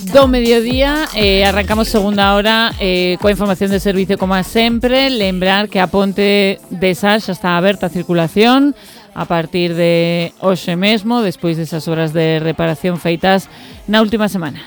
Do mediodía, arrancamos segunda hora coa información de servicio como a sempre. Lembrar que a ponte de Sal xa está aberta a circulación a partir de hoxe mesmo, despois desas horas de reparación feitas na última semana.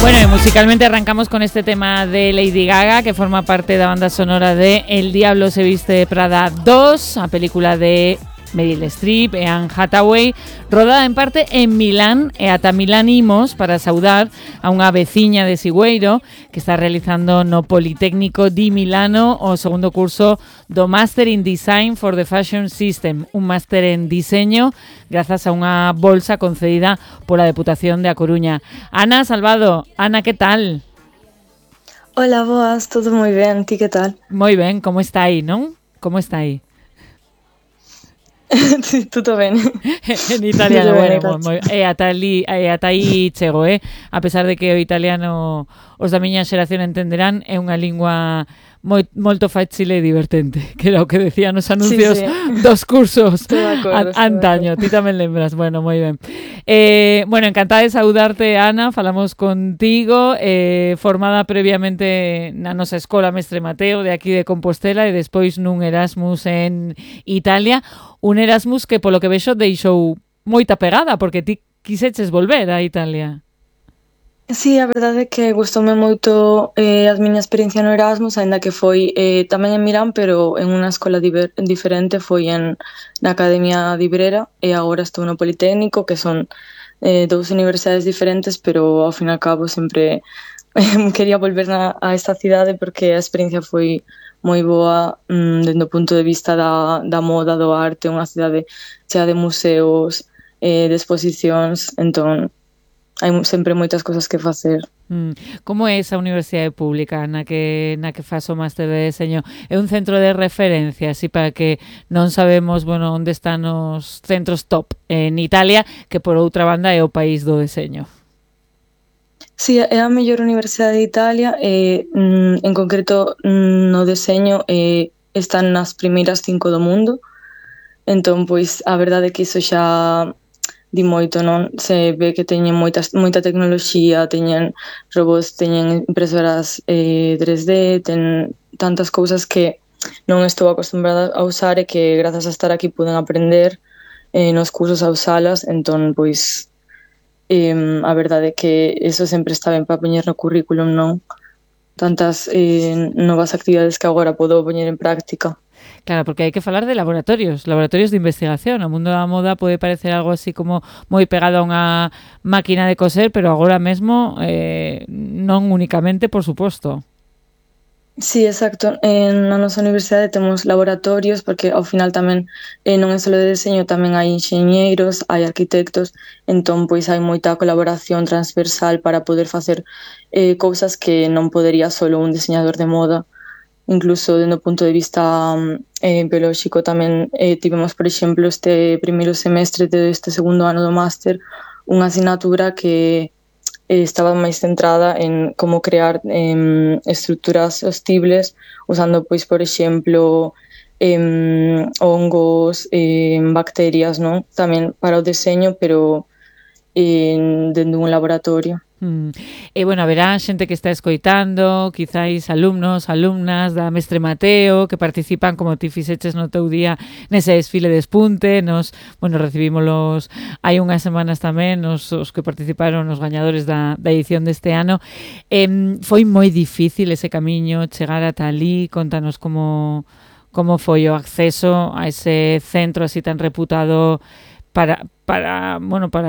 Bueno, y musicalmente arrancamos con este tema de Lady Gaga, que forma parte da banda sonora de El Diablo se viste de Prada 2, a película de Meryl Streep e Anne Hathaway, rodada en parte en Milán, e ata Milán imos para saudar a unha veciña de Sigüeiro que está realizando no Politécnico di Milano o segundo curso do Master in Design for the Fashion System, un máster en diseño grazas a unha bolsa concedida pola Deputación de A Coruña. Ana Salvado, Ana, que tal? Hola, boas, todo moi ben, ti que tal? Moi ben, como está aí, non? Como está aí? Sí, tutto bene. En italiano, bueno, ata aí chego, a pesar de que o italiano os da miña xeración entenderán, é unha lingua molto facile e divertente, que era o que decían os anuncios dos cursos antaño. Ti tamén lembras, bueno, moi ben. Bueno, encantada de saudarte, Ana, falamos contigo, formada previamente na nosa escola Mestre Mateo de aquí de Compostela e despois nun Erasmus en Italia, un Erasmus que polo que vexo deixou moita pegada, porque ti quiseches volver a Italia. Sí, a verdade é que gustoume moito a miña experiencia no Erasmus, aínda que foi tamén en Milán, pero en unha escola diferente, foi na Academia de Ibrera, e agora estou no Politécnico, que son dous universidades diferentes, pero ao fin e ao cabo sempre quería volver a esta cidade porque a experiencia foi moi boa dende o punto de vista da moda, do arte, unha cidade chea de museos, de exposicións, entón hai sempre moitas cosas que facer. Como é esa universidade pública na que fas o máster de deseño? É un centro de referencia, así para que non sabemos, bueno, onde están os centros top en Italia, que por outra banda é o país do deseño. Sí, é a mellor universidade de Italia, en concreto no deseño están nas primeiras 5 do mundo, entón, pois, a verdade é que iso xa di moito, non? Se ve que teñen moita tecnoloxía, teñen robots, teñen impresoras 3D, ten tantas cousas que non estou acostumbrada a usar e que grazas a estar aquí puden aprender nos cursos a usalas, entón, pois, a verdade é que eso sempre está ben para poñer no currículum, non? Tantas novas actividades que agora podo poñer en práctica. Claro, porque hai que falar de laboratorios de investigación. O mundo da moda pode parecer algo así como moi pegado a unha máquina de coser, pero agora mesmo non únicamente, por suposto. Sí, exacto. Na nosa universidade temos laboratorios, porque ao final tamén non é só de deseño, tamén hai enxeñeiros, hai arquitectos, entón pois hai moita colaboración transversal para poder facer cousas que non podería solo un diseñador de moda. Incluso dende o punto de vista biolóxico tamén tivemos, por exemplo, este primeiro semestre deste segundo ano do máster unha asignatura que estaba máis centrada en como crear estruturas sostibles usando, pois, por exemplo, hongos, bacterias, non? Tamén para o deseño, pero dentro dun laboratorio. E, bueno, haberá xente que está escoitando, quizáis alumnos, alumnas da Mestre Mateo que participan, como ti fixeches no teu día nese desfile de espunte. Nos, bueno, recibímolos hai unhas semanas tamén os que participaron, os gañadores da edición deste ano. Foi moi difícil ese camiño, chegar ata ali. Contanos como foi o acceso a ese centro así tan reputado para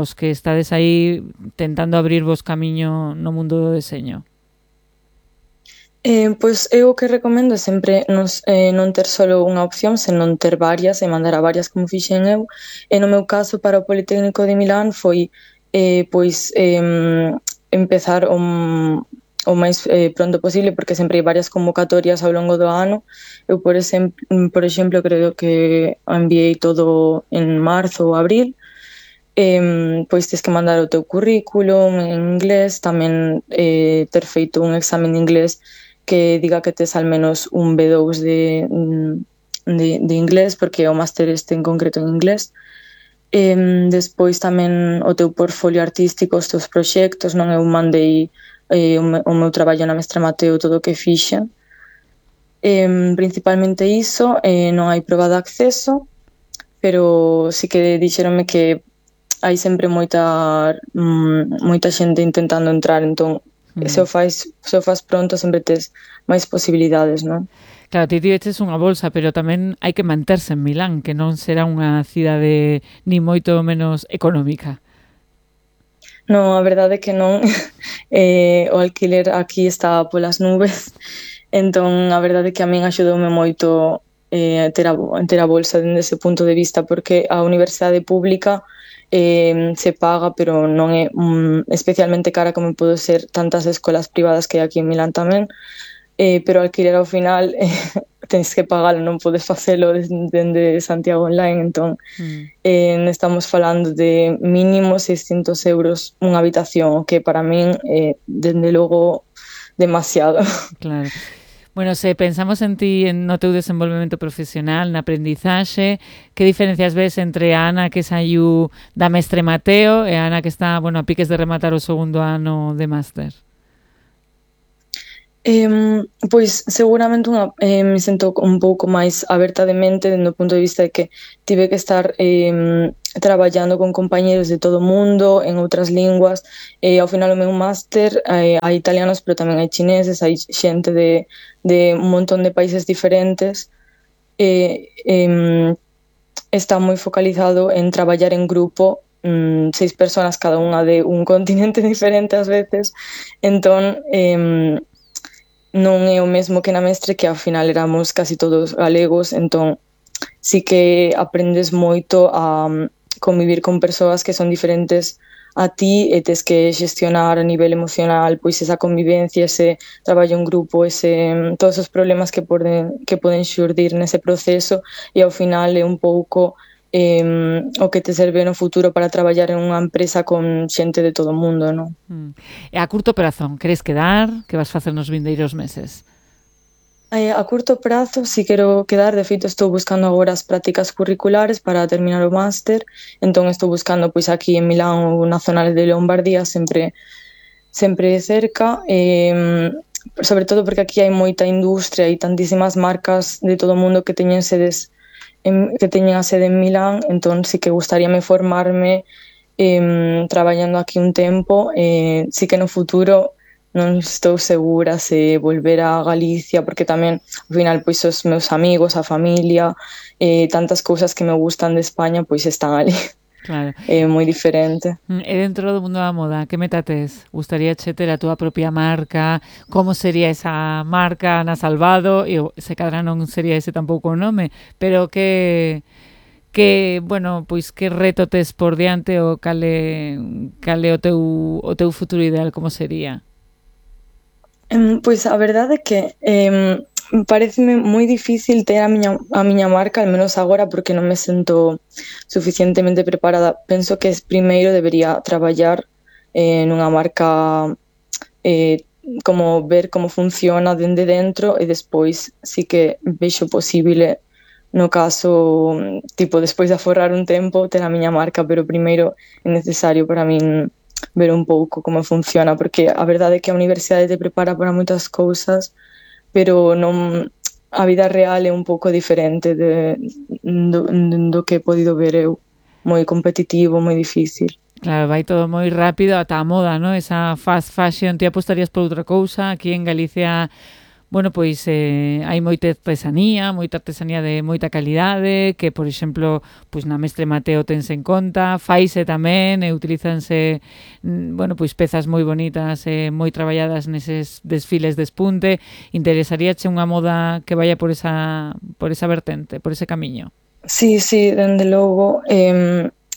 os que estades aí tentando abrirvos camiño no mundo do deseño. Pois eu o que recomendo é sempre non ter solo unha opción, senón ter varias e mandar a varias como fixen eu. E no meu caso, para o Politécnico de Milán foi empezar o máis pronto posible, porque sempre hai varias convocatorias ao longo do ano. Eu, por exemplo, creo que enviei todo en marzo ou abril. Pois tens que mandar o teu currículum en inglés, tamén ter feito un examen de inglés que diga que tes al menos un B2 de inglés, porque o máster este en concreto en inglés. Despois tamén o teu portfolio artístico, os teus proxectos, non? Eu mandei o meu traballo na Mestre Mateo, todo o que fixen. Principalmente iso, non hai proba de acceso, pero sí que dixeronme que hai sempre moita xente intentando entrar, entón se o fas pronto sempre tes máis posibilidades, non? Claro, ti tiveches unha bolsa, pero tamén hai que manterse en Milán, que non será unha cidade ni moito menos económica. Non, a verdade é que non. O alquiler aquí está polas nubes, entón a verdade é que a min axudoume moito ter a bolsa dende ese punto de vista, porque a universidade pública se paga, pero non é especialmente cara como podo ser tantas escolas privadas que hai aquí en Milán tamén, pero alquiler ao final tens que pagalo, non podes facelo dende Santiago Online, entón estamos falando de mínimo 600 euros unha habitación, que para min dende logo demasiado. Claro. Bueno, se pensamos en ti, no teu desenvolvemento profesional, na aprendizaxe, que diferencias ves entre a Ana que saiu da Mestre Mateo e a Ana que está, bueno, a piques de rematar o segundo ano de máster? Pois seguramente me sinto un pouco máis aberta de mente dende o punto de vista de que tive que estar traballando con compañeros de todo o mundo en outras linguas, ao final o meu máster hai italianos, pero tamén hai chineses, hai xente de un montón de países diferentes, está moi focalizado en traballar en grupo, 6 persoas cada unha de un continente diferente ás veces, entón non é o mesmo que na Mestre, que ao final éramos casi todos galegos, entón sí que aprendes moito a convivir con persoas que son diferentes a ti e tes que xestionar a nivel emocional pois esa convivencia, ese traballo en grupo, todos os problemas que poden xurdir nese proceso, e ao final é un pouco o que te serve no futuro para traballar en unha empresa con xente de todo o mundo, non? E a curto prazo, queres quedar? Que vas facer nos vindeiros meses? A curto prazo si quero quedar, de feito estou buscando agora as prácticas curriculares para terminar o máster, entón estou buscando pois aquí en Milán ou na zona de Lombardía, sempre cerca, sobre todo porque aquí hai moita industria e tantísimas marcas de todo o mundo que teñen sedes que teñen a sede en Milán, entón sí que gustaríame formarme traballando aquí un tempo, sí que no futuro non estou segura se volver a Galicia, porque tamén ao final pois os meus amigos, a familia, tantas cousas que me gustan de España pois están ali. Claro. É moi diferente. E dentro do mundo da moda, que meta tes? Gustaríache ter a túa propia marca? Como sería esa marca na Salvado? E se cadra non sería ese tampouco o nome, pero que bueno, pois que reto tes por diante ou cale o teu futuro ideal, como sería? Pois a verdade é que pareceme moi difícil ter a miña marca, al menos agora, porque non me sento suficientemente preparada. Penso que primeiro debería traballar nunha marca, como ver como funciona dende dentro, e despois sí que vexo posible, no caso, tipo, despois de aforrar un tempo, ter a miña marca, pero primeiro é necesario para min ver un pouco como funciona, porque a verdade é que a universidade te prepara para moitas cousas, pero non, a vida real é un pouco diferente do que he podido ver eu, moi competitivo, moi difícil. Claro, vai todo moi rápido, ata a moda, ¿no? Esa fast fashion, ti apostarías por outra cousa? Aquí en Galicia, bueno, pois hai moita artesanía de moita calidade, que, por exemplo, pois na Mestre Mateo tense en conta, faise tamén, e utilizanse, bueno, pois pezas moi bonitas, moi traballadas neses desfiles de espunte. Interesaríache unha moda que vaya por esa vertente, por ese camiño? Sí, dende logo,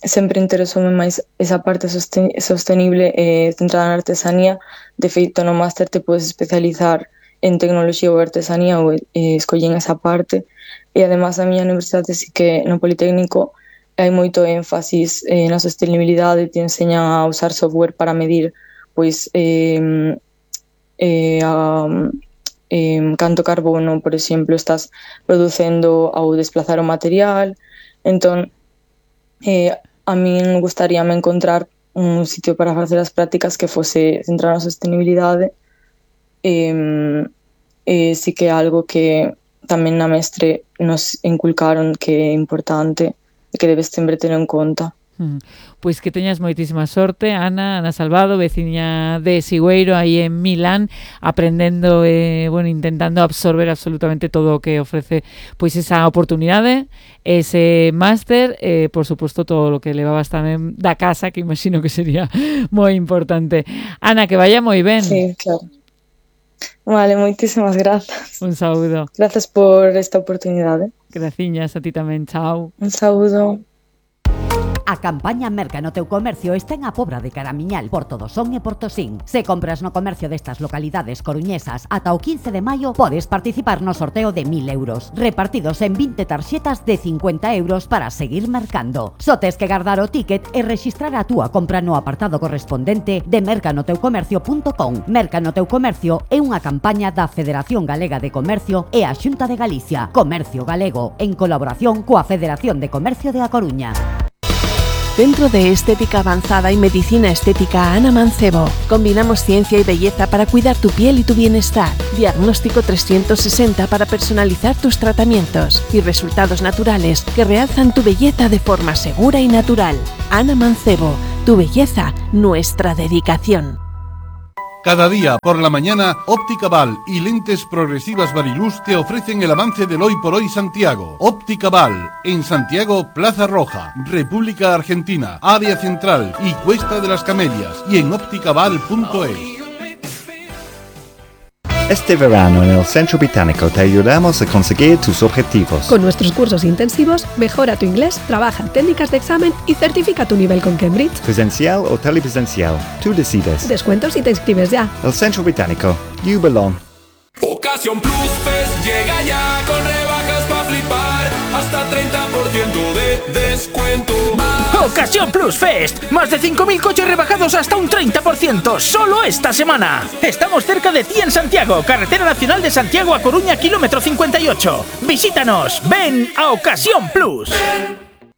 sempre interesoume máis esa parte sostenible centrada na artesanía. De feito, no máster te podes especializar en tecnoloxía ou artesanía, ou escollen esa parte, e además a miña universidade sí que no Politécnico hai moito énfasis na sostenibilidade, te enseñan a usar software para medir pois canto carbono, por exemplo, estás producendo ao desplazar o material. Entón, a min gustaríame encontrar un sitio para facer as prácticas que fose centrado na sostenibilidade. Sí que é algo que tamén na mestre nos inculcaron que é importante e que debes sempre ter en conta. Pois que teñas moitísima sorte, Ana Salvado, veciña de Sigüeiro, aí en Milán, aprendendo intentando absorber absolutamente todo o que ofrece pois esa oportunidade, ese máster, por suposto todo o que levabas tamén da casa, que imagino que sería moi importante. Ana, que vaya moi ben. Sí, claro. Vale, moitísimas grazas. Un saúdo. Grazas por esta oportunidade. Graciñas a ti tamén, chao. Un saúdo. A campaña Merca no teu comercio está en a Pobra de Caramiñal, Portodosón e Portosín. Se compras no comercio destas localidades coruñesas ata o 15 de maio, podes participar no sorteo de 1.000 euros, repartidos en 20 tarxetas de 50 euros para seguir mercando. Só tes que guardar o ticket e rexistrar a túa compra no apartado correspondente de mercanoteucomercio.com. Merca no teu comercio é unha campaña da Federación Galega de Comercio e a Xunta de Galicia. Comercio Galego, en colaboración coa Federación de Comercio de A Coruña. Centro de Estética Avanzada y Medicina Estética Ana Mancebo. Combinamos ciencia y belleza para cuidar tu piel y tu bienestar. Diagnóstico 360 para personalizar tus tratamientos y resultados naturales que realzan tu belleza de forma segura y natural. Ana Mancebo, tu belleza, nuestra dedicación. Cada día por la mañana, Óptica Val y Lentes Progresivas Variluz te ofrecen el avance del Hoy por Hoy Santiago. Óptica Val, en Santiago, Plaza Roja, República Argentina, Área Central y Cuesta de las Camelias, y en ópticaval.es. Este verano en el Centro Británico te ayudamos a conseguir tus objetivos. Con nuestros cursos intensivos, mejora tu inglés, trabaja técnicas de examen y certifica tu nivel con Cambridge. Presencial o telepresencial, tú decides. Descuentos si te inscribes ya. El Centro Británico, you belong. Ocasión Plus Fest llega ya con rebajas para flipar, hasta 30% de descuento. Ocasión Plus Fest, más de 5.000 coches rebajados hasta un 30%, solo esta semana. Estamos cerca de ti en Santiago, Carretera Nacional de Santiago a Coruña, kilómetro 58. Visítanos, ven a Ocasión Plus.